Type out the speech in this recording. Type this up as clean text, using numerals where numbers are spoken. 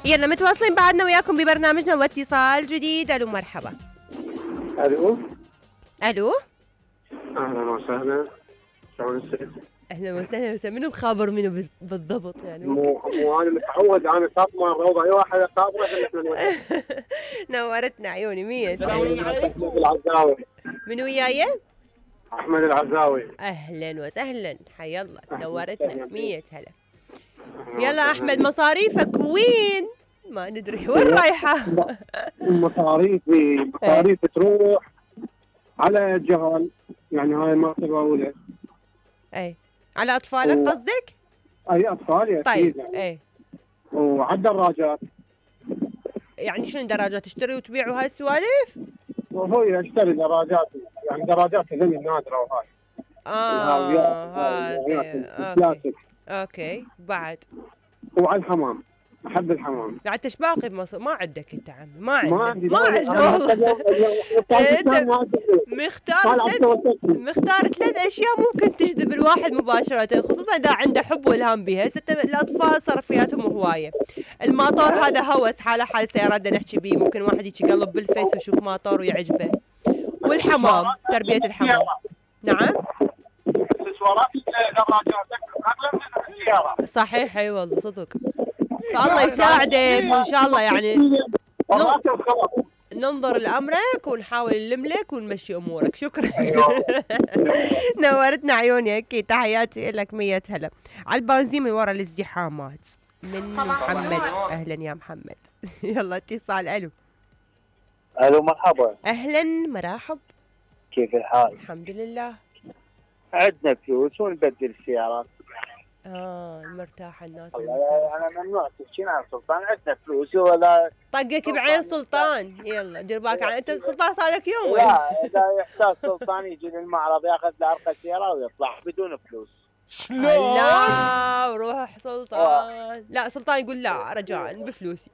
يلا متواصلين بعدنا وياكم ببرنامجنا واتصال جديد. الو مرحبا. الو الو اهلا وسهلا. شلون الست؟ اهلا وسهلا. منو مخابر منو بالضبط يعني؟ مو انا متعود، انا خاطمه الروضه اي واحد خاطمه احنا نورتنا عيوني 100. احمد العزاوي. من وياي؟ احمد العزاوي. اهلا وسهلا حيا الله، نورتنا 100 هلا. يلا احمد مصاريفك وين؟ ما ندري وين رايحه. مصاريفي تروح على جهل، يعني هاي مرتبه اولى. اي على اطفالك قصدك؟ اي اطفالي اكيد. طيب اي. وعلى الدراجات. يعني شنو دراجات تشتري وتبيع وهاي السوالف؟ وهو اشتري دراجات، يعني دراجات هذول النادره وهاي. هذا اوكي بعد. وعلى الحمام، احب الحمام. قاعد تشباقي بمصر، ما عندك انت عمي، ما عندك والله. انت مختار ثلاث اشياء ممكن تجذب الواحد مباشره، خصوصا اذا عنده حب والهام بها. الاطفال صرفياتهم هوايه. الماطور هذا هوس، حال سيارات بدنا نحكي بيه، ممكن واحد يجي يقلب بالفيس ويشوف ماطور ويعجبه. والحمام، تربيه الحمام. نعم اكسسوارات الدراجات صحيح. اي والله صدق. فالله يساعدك وان شاء الله يعني ننظر لامرك ونحاول نلم لك ونمشي امورك. شكرا. نورتنا عيوني. اكيد تحياتي لك 100 هلا. على البنزين من ورا الازدحامات من محمد. اهلا يا محمد. يلا اتصال. الو مرحبا. اهلا مرحب. كيف الحال؟ الحمد لله. عندنا فلوس ونبدل السيارات. مرتاحة الناس. انا ممنوع تحكين عن سلطان، عندنا فلوس ولا طقك بعين سلطان. يلا دير بالك انت سلطان صار لك يوم. لا اذا يحتاج سلطان يجي للمعرض ياخذ له ارقى سيارة ويطلع بدون فلوس. لا وروح سلطان. لا سلطان يقول لا رجاء بفلوسي.